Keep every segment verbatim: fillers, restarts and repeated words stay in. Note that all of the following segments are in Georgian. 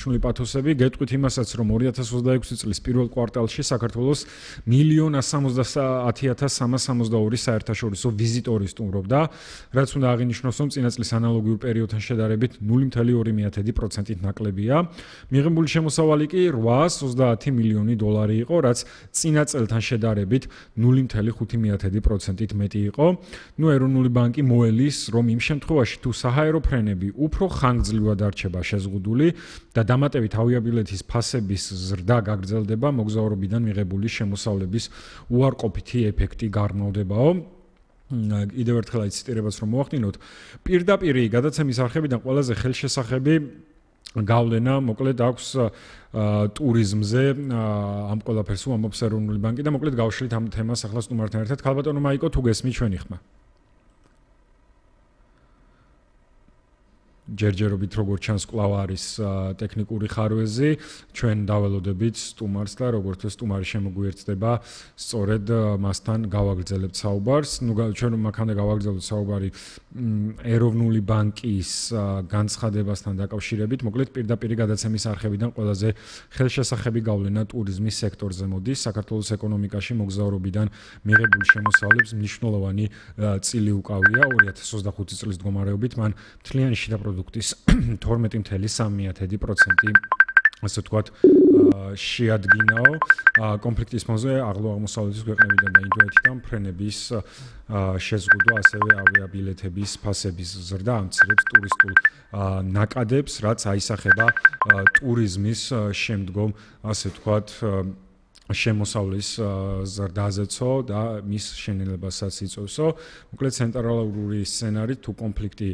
შული პათოსები გეტყვით იმასაც, რომ ორი ათას ოცდაექვსი წლის პირველ კვარტალში საქართველოს მილიონ სამოცდაათი ათას სამას სამოცდაორი საერთაშორისო ვიზიტორი სტუმრობდა, რაც უნდა აღინიშნოს, რომ წინა წლის ანალოგიურ პერიოდთან შედარებით ნული კoma ორი პროცენტით ნაკლებია. მიღებული შემოსავალი კი რვაას ოცდაათი მილიონი დოლარი იყო, რაც წინა წელთან შედარებით ნული კoma ხუთი პროცენტით მეტი იყო. ნუ ეროვნული ბანკი მოელის, რომ იმ შემთხვევაში თუ საჰაერო ფრენები უფრო ხანგრძლივად არჩება შეზღუდული და დამატებით ავიაბილეთის ფასების ზრდა გაგრძელდება, მოგზაურობიდან მიღებული შემოსავლების უარყოფითი ეფექტი გარმოვდებაო. კიდევ ერთხელ აი ციტირებას რომ მოვახდინოთ, პირდაპირი გადაცემის არხებიდან ყველაზე ხელშესახები გავლენა მოკლედ აქვს ტურიზმზე, ამ ყველაფერს უამბობს ეროვნული ბანკი და მოკლედ გავშლით ამ თემას ახლა სტუმართან ერთად. ქალბატონო მაიკო, თუ გესმით ჩვენი ხმა? ჯერჯერობით როგორც ჩანს კვლავ არის ტექნიკური ხარვეზი, ჩვენ დაველოდებით სტუმარს და როგორც სტუმარი შემოგვიერთდება, სწორედ მასთან გავაგრძელებთ საუბარს. ნუ ჩვენ მაქამდე გავაგრძელებთ საუბარი ეროვნული ბანკის განცხადებასთან დაკავშირებით, მოკლედ პირდაპირი გადაცემის არხებიდან ყველაზე ხელშესახები გავლენა ტურიზმის სექტორზე მოდის. საქართველოს ეკონომიკაში მოგზაურობიდან მიღებული შემოსავლებს მნიშვნელოვანი წილი უკავია ორი ათას ოცდახუთი წლის მდგომარეობით, მან მთლიანი შიდა პროდუქტის თორმეტი კoma სამი პროცენტი ასე ვთქვათ შეადგინაო. კონფლიქტის ფონზე აღმოსავლეთის ქვეყნებიდან და ინდოეთიდან ფრენების შეზღუდვა, ასევე ავიაბილეთების ფასების ზრდა ამცირებს ტურისტულ ნაკადებს, რაც აისახება ტურიზმის შემდგომ ასე ვთქვათ შემოსავლის ზრდაზეცო და მის შენელებასაც იწევსო. მოკლედ ცენტრალური სცენარით თუ კონფლიქტი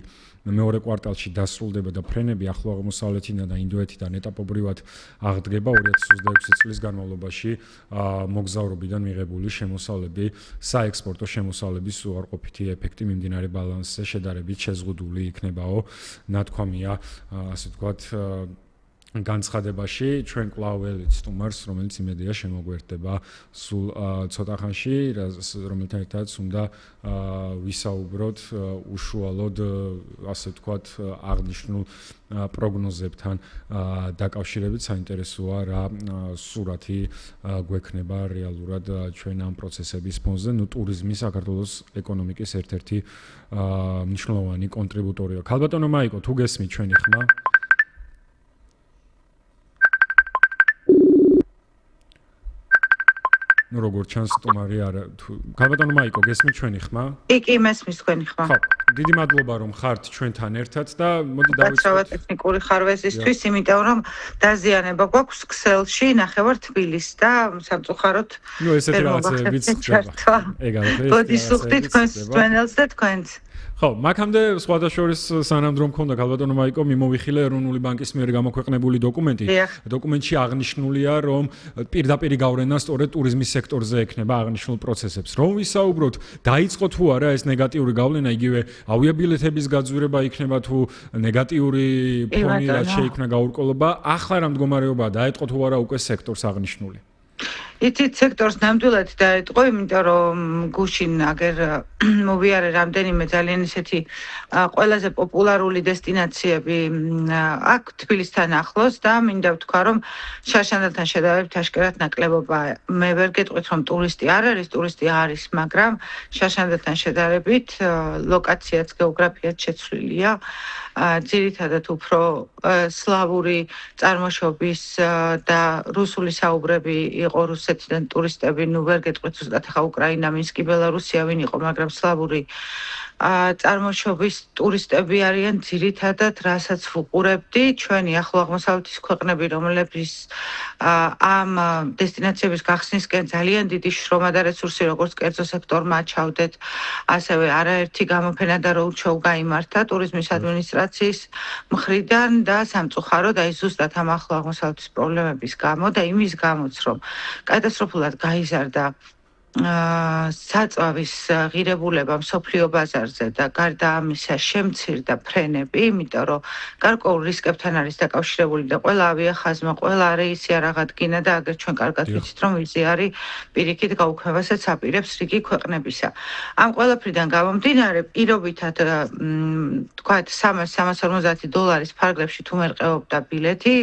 მეორე კვარტალში დასრულდება და ფრენები ახლო აღმოსავლეთიდან და ინდოეთიდან ეტაპობრივად აღდგება, ორი ათას ოცდაექვსი წლის განმავლობაში მოგზაურობიდან მიღებული შემოსავლები საექსპორტო შემოსავლების უარყოფითი ეფექტი მიმდინარე ბალანსზე შედარებით შეზღუდული იქნებაო, ნათქვამია ასე ვთქვათ განცხადებაში. ჩვენ კვლავ ველით სტუმარს, რომელიც იმედია შემოგვერთდება სულ ცოტა ხანში, რომელთან ერთადაც უნდა ვისაუბროთ უშუალოდ ასე ვთქვათ აღნიშნულ პროგნოზებთან დაკავშირებით. საინტერესოა რა სურათი გვექნება რეალურად ჩვენ ამ პროცესების ფონზე. ნუ ტურიზმი საქართველოს ეკონომიკის ერთ-ერთი მნიშვნელოვანი კონტრიბუტორია. ქალბატონო მაიკო, თუ გესმით ჩვენი ხმა? ნუ როგორც ჩანს სტუმარი არა ქალბატონო მაიკო, გესმით ჩვენი ხმა? კი, კი, მესმის თქვენი ხმა. ხო, დიდი მადლობა რომ ხართ ჩვენთან ერთად და მოდი დავიწყოთ ტექნიკური ხარვეზისთვის, იმიტომ რომ დაზიანება გვაქვს ქსელში, ნახევარ თბილისს და სამწუხაროდ ნუ ესეთი რაღაცებიც ხდება. ეგარად ბოდი სუხტი თქვენს ჩვენელს და თქვენს. ხო, მაქამდე სხვადასხვა სანამ დრო მქონდა ქალბატონო მაიკო, მიმოვიხილე ეროვნული ბანკის მიერ გამოქვეყნებული დოკუმენტი. დოკუმენტში აღნიშნულია, რომ პირდაპირი გავლენა სწორედ ტურიზმის სექტორზე ექნება აღნიშნულ პროცესებს. რომ ვისაუბროთ, დაიწყო თუ არა ეს ნეგატიური გავლენა, იგივე ავიაბილეთების გაძვირება იქნება თუ ნეგატიური ფონი რაც შეიქმნა გაურკვევლობა, ახლა რა მდგომარეობაა, დაიწყო თუ არა უკვე სექტორს აღნიშნული? იცით, სექტორს ნამდვილად დაეტყო, იმიტომ რომ გუშინ აგერ მოვიარე რამდენიმე ძალიან ისეთი ყველაზე პოპულარული დესტინაციები აქ თბილისთან ახლოს და მინდა ვთქვა, რომ შარშანდელთან შედარებით აშკარად ნაკლებობა. მე ვერ გეტყვით, რომ ტურისტი არ არის, ტურისტი არის, მაგრამ შარშანდელთან შედარებით ლოკაციაც, გეოგრაფიაც შეცვლილია. ძირითადად უფრო სლავური წარმოშობის და რუსული საუბრები იყო რუსეთიდან ტურისტები, ნუ ვერ გეტყვით ზუსტად ახლა უკრაინა, მინსკი, ბელარუსია ვინ იყო, მაგრამ სლავური წარმოშობის ტურისტები არიან ძირითადად, რასაც ვუყურებდი, ჩვენი ახლო აღმოსავლეთის ქვეყნები, რომლებიც ამ დესტინაციების გახსნისკენ ძალიან დიდი შრომა და რესურსი როგორც კერძო სექტორმა ჩავდეთ, ასევე არაერთი გამოფენა და როუდშოუ გაიმართა ტურიზმის ადმინისტრაციის მხრიდან და სამწუხაროდ აი ზუსტად ამ ახლო აღმოსავლეთის პრობლემების გამო და იმის გამოც, რომ კატასტროფულად გაიზარდა საწვავის ღირებულება მსოფლიო ბაზარზე და გარდა ამისა შემცირდა ფრენები, იმიტომ რომ გარკვეულ რისკებთან არის დაკავშირებული და ყველა ავიახაზმა, ყველა რეისი არ აღადგინა და აგერ ჩვენ კარგად ვიცით, რომ ვიზი არის პირიქით გაუქმებასაც აპირებს რიგი ქვეყნებისა. ამ ყველაფრიდან გამომდინარე, პირობითად თქვათ სამას სამას ორმოცდაათი დოლარის ფარგლებში თუ მერყეობდა ბილეთი,